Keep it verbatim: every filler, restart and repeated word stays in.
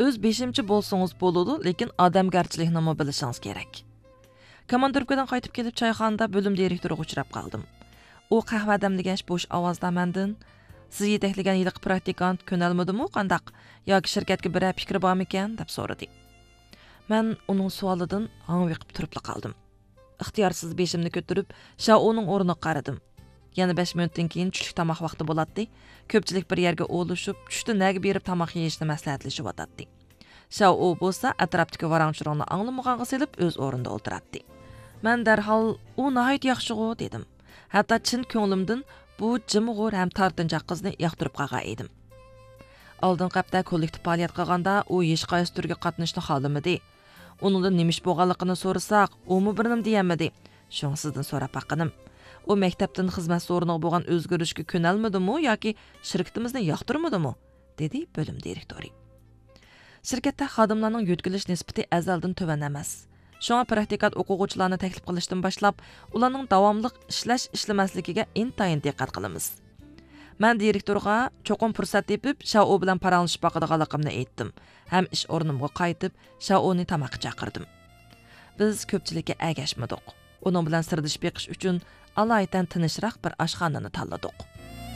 ئۆز بېشىمچە بولسىڭىز بولىدۇ، لېكىن ئادەمگەرچىلىكنىمۇ بىلىشىڭىز كېرەك. كوماندىروپكىدىن قايتىپ كېلىپ، چايخانىدا بۆلۈم دىرېكتورىغا ئۇچراپ قالدىم. ئۇ قەھۋە دەملىگەچ بوش ئاۋازدا مەندىن، سىز يېتەكلىگەن ھېلىقى پراكتىكانت كۆنەلمىدىمۇ قانداق؟ ياكى شىركەتكە بىرەر پىكرى بارمىكەن؟ دەپ سورىدى. مەن ئۇنىڭ سوئالىدىن ھاڭۋېقىپ تۇرۇپلا قالدىم. ئىختىيارسىز بېشىمنى كۆتۈرۈپ، شاۋئۇنىڭ ئورنىغا قارىدىم. يەنە بەش مىنۇتتىن كېيىن چۈشلۈك تاماق ۋاقتى بولاتتى. كۆپچىلىك بىر يەرگە ئولىشىپ، چۈشتە نەگە بېرىپ تاماق يېيىشنى مەسلىھەتلىشىۋاتاتتى. شاۋئۇ بولسا ئەتراپتىكى ۋاراڭ-چۇرۇڭنى ئاڭلىمىغانغا سېلىپ، ئۆز ئورنىدا ئولتۇراتتى. مەن دەرھال، «ئۇ ناھايىتى ياخشىغۇ» دېدىم. ھەتتا چىن كۆڭلۈمدىن، «بۇ جىمغۇر ھەم تارتىنچاق قىزنى ياقتۇرۇپ قالغان ئىدىم.» ئالدىنقى ھەپتە كوللېكتىپ پائالىيەت قىلغاندا، ئۇ ھېچقايسى تۈرگە قاتنىشىشنى خالىمىدى. ئۇنىڭدىن نېمە ئىش بولغانلىقىنى سورىساق، ئۇمۇ بىر نېمە دېيەلمىدى. شۇڭا سىزدىن سوراپ باققىنىم. ئۇ مەكتەپتىن خىزمەت سورۇنىغا بولغان ئۆزگىرىشكە كۆنەلمىدىمۇ ياكى شىركىتىمىزنى ياقتۇرمىدىمۇ؟ دېدى بۆلۈم دىرېكتورى. شىركەتتە خادىملارنىڭ يۆتكىلىش نىسبىتى ئەزەلدىن تۆۋەن ئەمەس. شۇڭا پراكتىكانت ئوقۇغۇچىلارنى تەكلىپ قىلىشتىن باشلاپ، ئۇلارنىڭ داۋاملىق ئىشلەش، ئىشلىمەسلىكىگە ئىنتايىن دىققەت قىلىمىز. مەن دىرېكتورغا چوقۇم پۇرسەت تېپىپ، شاۋئۇ بىلەن پاراڭلىشىپ باقىدىغانلىقىمنى ئېيتتىم ھەم ئىش ئورنۇمغا قايتىپ، شاۋئۇنى تاماققا چاقىردىم. بىز كۆپچىلىككە ئەگەشمىدۇق. ئۇنىڭ بىلەن سىردىشىپ بېقىش ئۈچۈن ئالايىتەن تىنچراق بىر ئاشخانىنى تاللىدۇق.